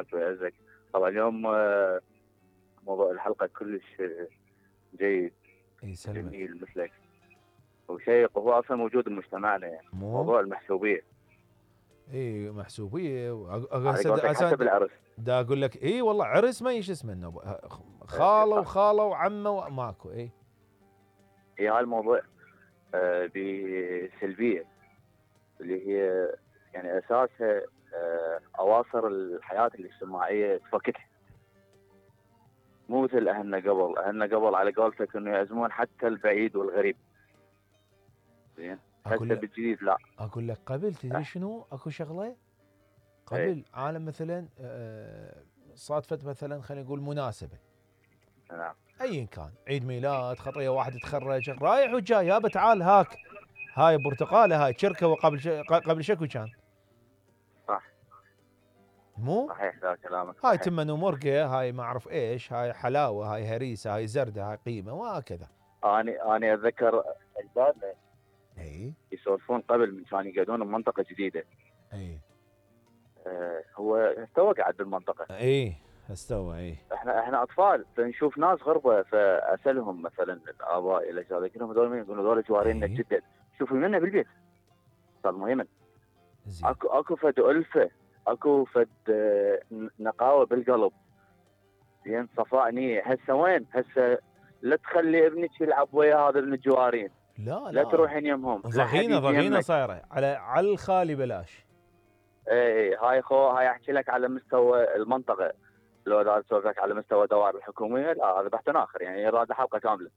يسلمك ويعزك. طبعا اليوم موضوع الحلقه كلش جيد، يسلمك. جميل مثلك وشيق، وهو اصلا موجود بمجتمعنا يعني موضوع المحسوبيه. اي محسوبيه حتى بالعرس. دا اقول لك اي والله عرس ما ايش اسمه خاله وخاله وعمه وماكو. اي هاي الموضوع بسلبيه اللي هي يعني اساسها اواصر الحياه الاجتماعيه تفككها. مو مثل اهلنا قبل على قولتك انه يعزمون حتى البعيد والغريب. زين هسه بالجديد لا. اقول لك قبل تدري شنو اكو شغله قبل عالم مثلا صادفت مثلا خلينا نقول مناسبه. نعم. ايا كان عيد ميلاد خطيه واحد يتخرج رايح وجاي يابا تعال هاك هاي برتقاله هاي شركه قبل شكو كان. صح. مو صحيح ذا كلامك. هاي تمن ومرقه هاي ما اعرف ايش هاي حلاوه هاي هريسه هاي زرده هاي قيمه وهكذا. انا اتذكر اجدادنا اي يسولفون قبل من كانوا يقعدون بمنطقه جديده. اي هو استوى قاعد بالمنطقه. اي استوى. اي احنا اطفال فنشوف ناس غربه فاسالهم مثلا الاباء الى اجداد لهم هذول مين؟ يقولون هذول جوارينا جدا شوفوا لنا بالبيت. صار مهما اكو فد الفه اكو فد نقاوه بالقلب. زين صفاء نيه. هسه وين؟ هسه لا تخلي ابنك يلعب ويا هذا الجوارين. لا تروحين يمهم. ضغينه صايره على الخالي بلاش. اي هاي احكي لك على مستوى المنطقه. لو اذا اسولف لك على مستوى الدوائر الحكوميه لا هذا بحث اخر يعني يراد حلقه كامله.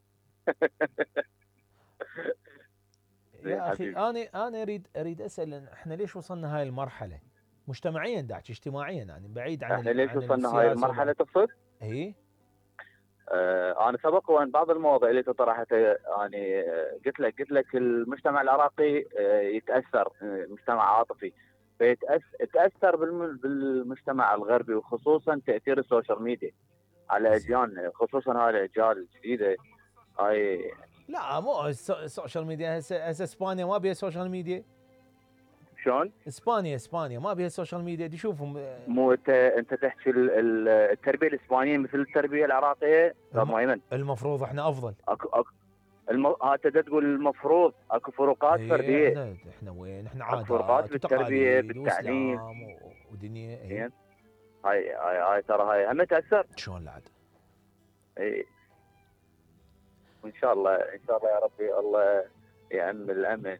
يا اخي انا اريد اسال احنا ليش وصلنا هاي المرحله مجتمعيا داعش اجتماعيا يعني بعيد عن احنا ليش وصلنا هاي المرحله تقصد؟ اي انا سبق وان بعض المواضيع اللي طرحتها يعني قلت لك المجتمع العراقي يتاثر مجتمع عاطفي فيتاثر بالمجتمع الغربي وخصوصا تاثير السوشيال ميديا على اجيالنا خصوصا هاي الاجيال الجديده هاي. لا مو السوشيال ميديا هسه اسبانيا ما بيها سوشيال ميديا. شلون؟ اسبانيا ما بيها سوشيال ميديا دي شوفهم. مو انت تحكي التربيه الاسبانيه مثل التربيه العراقيه. المفروض احنا افضل. انت تقول المفروض اكو فروقات فرديه. احنا وين؟ احنا عادات فروقات بالتربيه بالتعليم ودنيا. هاي ترى هاي هم تاثر. شلون لا عاد؟ اي وان شاء الله يا ربي الله يعم الامن